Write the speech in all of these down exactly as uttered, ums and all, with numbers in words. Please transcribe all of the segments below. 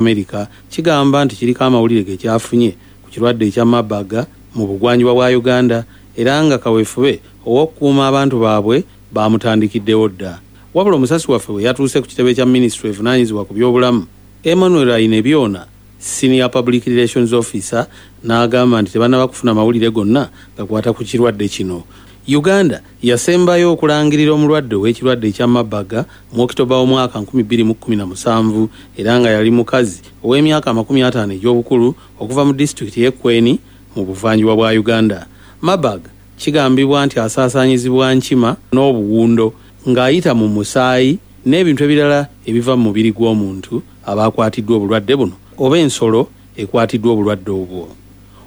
Amerika kigamba nti kiriko amawulire ge kyafunye ku kirwadde ekya Marburg mu bugwanjuba bwa Uganda, era nga kaweefube ow'okukuuma abantu baabwe baamutandikiddewo dda. Wabula omusasi waffe bwe yatuuse ku kitebe kya minisitule evunaanyizibwa ku byobulamu, Emmanuel Ainebyona, Senior Public Relations Officer, n'agamba nti tebannaba kufuna mawulire gonna gakwata ku kirwadde kino. Uganda yasembayo okulangirira omulwadde ow'ekirwadde ekya Marburg mu Okitoba w'omwaka nkumi bbiri mu kkumi na musanvu, era nga yali mukazi ow'emyaka amakumi ataano egy'obukulu okuva mu disitulikiti y'e Kweni mu buvanjuba bwa Uganda. Marburg kigambibwa nti asaasaanyizibwa nkima n'obuwundo ng'ayita mu musaayi n'ebintu ebirala ebiva mu mubiri gw'omuntu aba akwatiddwa obulwadde buno oba ensolo ekwatiddwa obulwadde obwo.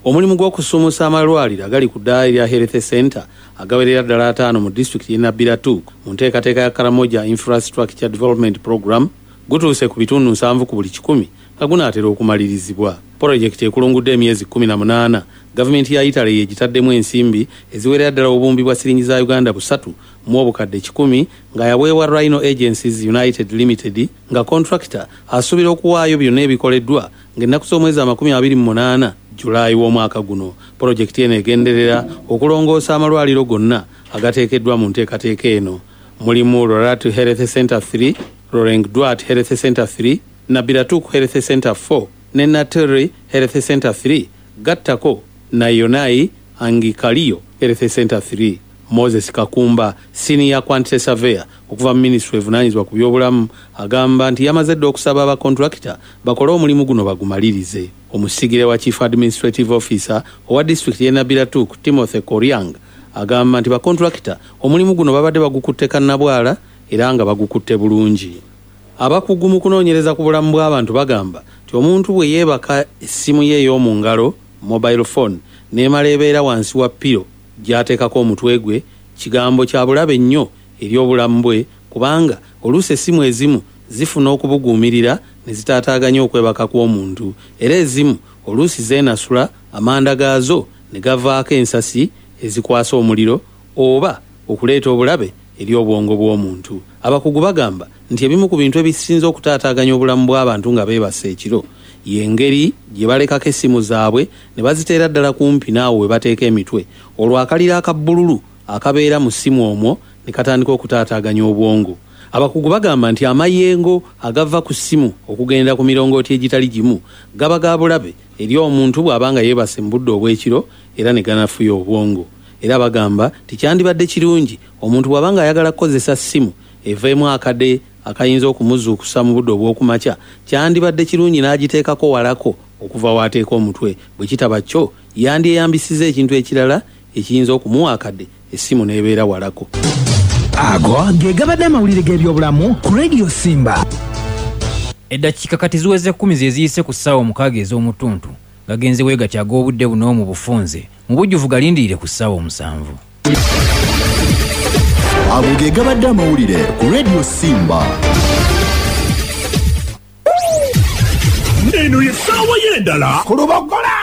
Omulimu gw'okusuumusa amalwaliro agali ku ddaala erya Health Center agawerera ddala ataano mu disitulikiti y'e Nabilatuk mu nteekateeka ya Karamoja Infrastructure Development Program gutuuse ku bitundu nsanvu ku buli kikumi nga gunaatera okumalirizibwa. Pulojekiti ekulungudde emyezi kkumi na munaana, gavumenti ya Italy yegitaddemu ensimbi eziwerera ddala obuwumbi bwa siringi za Uganda busatu mu obukadde kikumi nga yaweebwa Rhino Agencies United Limited, nga contractor asuubira okuwaayo byonna ebikoleddwa ng'ennaku z'omwezi amakumi abiri mu munaana Julaayi w'omwaka guno. Pulojekiti eno egenderera okulongoosa amalwaliro gonna agateekeddwa mu nteekateeka eno. Mulimu Loratu Health Center three, Lorengdwat Health Center three, Nabilatuk Health Center four ne Nateri Health Center three, gattako Nayonai Angikaliyo Health Center three. Moses Kakumba, Senior Quantity Surveyor okuva mu minisitule evunaanyizibwa ku byobulamu, agamba nti yamaze dda okusaba abakontulakita bakole omulimu guno bagumalirize. Omusigire wa Chief Administrative Officer owa disitulikiti y'e Nabilatuk, Timothy Koryang, agamba nti bakontulakita omulimu guno babadde bagukutte kannabwala era nga bagukutte bulungi. Abakugu mu kunoonyereza ku bulamu bw'abantu bagamba nti omuntu bwe yeebaka essimu ye ey'omu ngalo, mobile phone, n'emala ebeera wansi wa piro gy'ateekako omutwe gwe, kigambo kya bulabe nnyo eri obulamu bwe, kubanga oluusi essimu ezimu zifuna okubuguumirira ne zitaataaganya okwebaka kw'omuntu, era ezimu oluusi zeenasula amanda gaazo ne gavaako ensasi ezikwasa omuliro oba okuleeta obulabe eri obwongo bw'omuntu. Abakugu bagamba nti ebimu ku bintu ebisinze okutaataaganya obulamu bw'abantu nga beebase ekiro y'engeri gye balekako essimu zaabwe ne baziteera ddala kumpi naawe we bateeka emitwe, olwo akaliro akabbululu akabeera mu ssimu omwo ne katandika okutaataaganya obwongo. Abakugu bagamba nti amayengo agava ku ssimu okugenda ku mirongooti egitali gimu gaba ga bulabe eri omuntu bw'aba nga yeebase mu budde obw'ekiro era ne ganafuya obwongo. Era bagamba nti kyandibadde kirungi omuntu bw'aba ng'ayagala kukozesa ssimu eveemu akade akayinza okumuzuukusa mu budde obw'okumakya, kyandibadde kirungi n'agiteekako walako okuva w'ateeka omutwe. Bwe kitaba kyo yandyeyambisizza ekintu ekirala ekiyinza okumuwa akade essimu n'ebeera walako. Ago ge gabadde amawulire g'ebyobulamu ku Radio Simba. Eddakiika kati ziweze kkumi ze ziyise ku ssaawa omukaaga ez'omutuntu, gagenze weegatya ag'obudde buno mu bufunze mu bujjuvu galindirire ku ssaawa omusanvu. Ago ge gabadde amawulire ku Radio Simba. Eno ye ssaawa y'endala ku Lubogola.